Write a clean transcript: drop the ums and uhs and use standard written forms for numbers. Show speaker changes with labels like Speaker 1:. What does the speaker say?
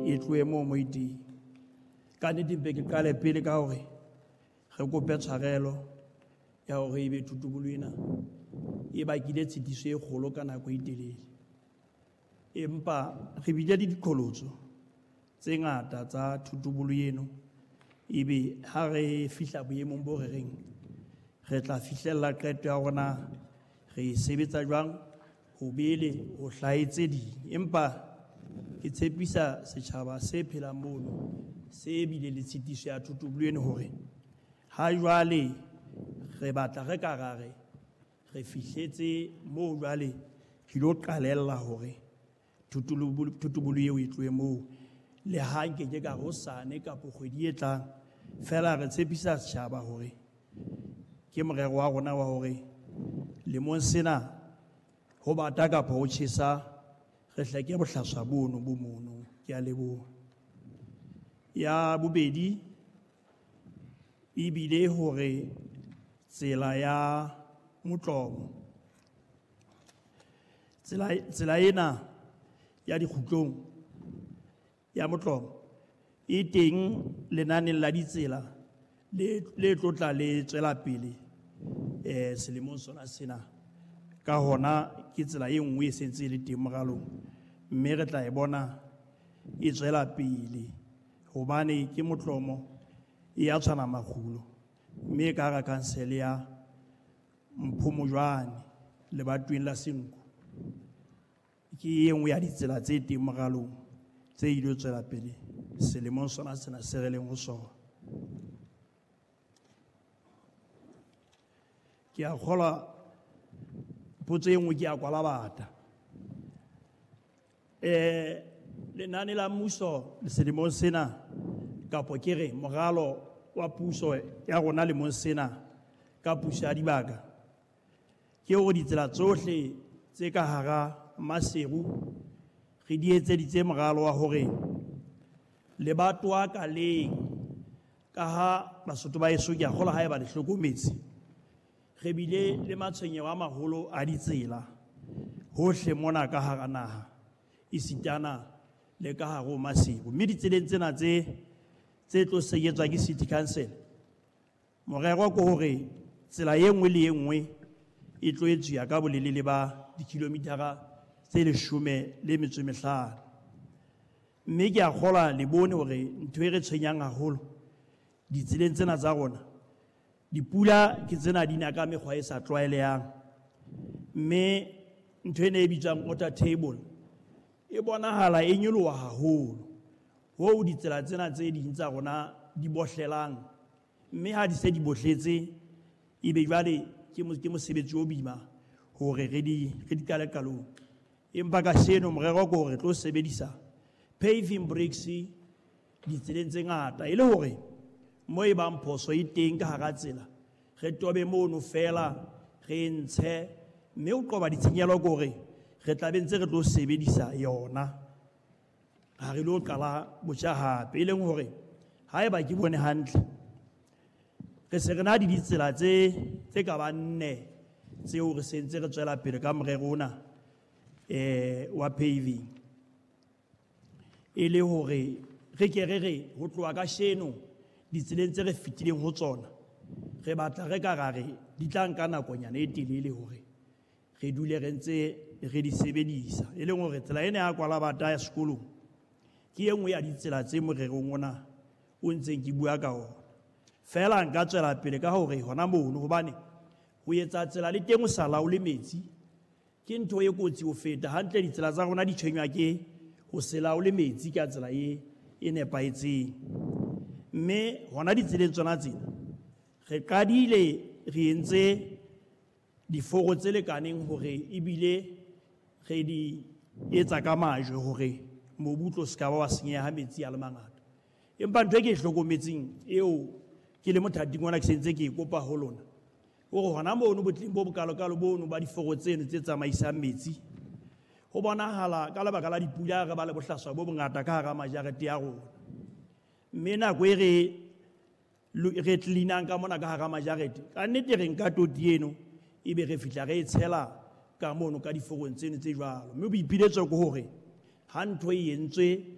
Speaker 1: E tlohe moo mo e teng. Ka nnete mpe ke qale pele ka hore re kope tshwarelo ya hore ebe thotobolo ena e bakile tshitiso e kgolo ka nako e telele. Empa re bile le diqholotso tse ngata tsa thotobolo eno, ebe ha re fihla boemong bo re reng re tla fihlella qeto ya rona re e sebetsa jwang ho bele ho hlahe tse ding. Empa ke tshepisa setjhaba se phelang mono se bile le tshitiso ya thotobolo eno hore ha jwale re batla re ka ra re re fihletse moo jwale re ilo qalella hore thotobolo eo e tlohe moo. Le ha nkeke ka re hosane kapa kgwedi e tlang, feela re tshepisa setjhaba hore ke morero wa rona wa hore lemong sena ho bata kapa ho tjhesa re hleke bohlaswa bono bo mono. Ke a leboha. Ya bobedi ebile hore tsela ya Motlomo, tsela ena ya dikgutlong ya Motlomo e teng lenaneng la ditsela le tlotla le tswela pele selemong sona sena. Ka hona ke tsela e nngwe e sentse e le teng moralong, mme re tla e bona e tswela pele hobane ke Motlomo e ya tshwana makgulo, mme e ka hara kansele ya Mphomojwane lebatoweng la Senqu. Ke e nngwe ya ditsela tse teng moralong tse ilo tswela pele selemong sona sena se re leng ho sona. Ke a kgolwa potso e nngwe ke ya Kwalabata. Lenane la mmuso selemong sena, kapo ke re moralo wa puso ya rona lemong sena ka puso ya dibaka, ke hore ditsela tsohle tse ka hara Maseru re di etseditse moralo wa hore lebatowa ka leng, ka ha Basotho ba heso ke a kgolwa haeba le hlokometse, re bile le matshwenyeho a maholo a ditsela hohle mona ka hara naha, esitana le ka hare ho Maseru. Mme ditseleng tsena tse tlo senyetswa ke City Council, morero ke hore tsela e nngwe le e nngwe e tlo etsuwa ka bolelele ba dikilomitara tse 15. Mme ke a kgolwa le bone hore ntho e re tshwenyang haholo ditseleng tsena tsa rona, dipula ke tsena di na ka mekgwa e sa tlwaelehang, mme ntho ena e bitswang water table e bonahala e nyoloha haholo hoo ditsela tsena tse ding tsa rona di bohlelang, mme ha di se di bohletse ebe jwale ke mosebetsi o boima hore re di qale qalong. Empa ka seno morero ke hore re tlo sebedisa paving bricks ditseleng tse ngata, e le hore mo e bang phoso e teng ka hara tsela re tobe mono fela re ntshe, mme o qoba ditshenyehelo ke hore re tla be ntse re tlo sebedisa yona, ha re lo qala botjha hape. E leng hore haeba ke bone hantle, re se re na le ditsela tse ka bang 4 tseo re sentse re tswela pele ka morero ona wa paving, e le hore re ke re re ho tloha ka sheno ditseleng tse re fetileng ho tsona, re batla re ka ra re di tla nka nakonyana e telele hore re dule re ntse re di sebedisa. E leng hore tsela ena ya Kwalabata ya sekolong ke e nngwe ya ditsela tse morerong ona o ntseng ke bua ka ona. Feela nka tswela pele ka hore hona mono, hobane ho etsa tsela le teng o sa laole metsi ke ntho e kotsi ho feta. Hantle ditsela tsa rona di tshwenywa ke ho se laole metsi ka tsela e nepahetseng. Mme hona ditseleng tsona tsena re qadile re entse diforo tse lekaneng hore ebile re di etsa ka majwe hore mobu o tlo se ka ba wa senyeha ha metsi a le mangata. Empa ntho e ke e hlokometseng eo ke le mothating ona ke sentse ke e kopa ho lona, hore hona mono botleng bo bokalokalo bono ba diforo tseno tse tsamaisang metsi, ho bonahala ka lebaka la dipula re ba le bohlaswa bo bongata ka hara majarete ya rona. Mme nako e re cleanang ka mona ka hara majarete, ka nnete re nka toti eno ebe re fihla re e tshela ka mono ka diforong tseno tse jwalo. Mme boipiletso ke hore ha ntho e entswe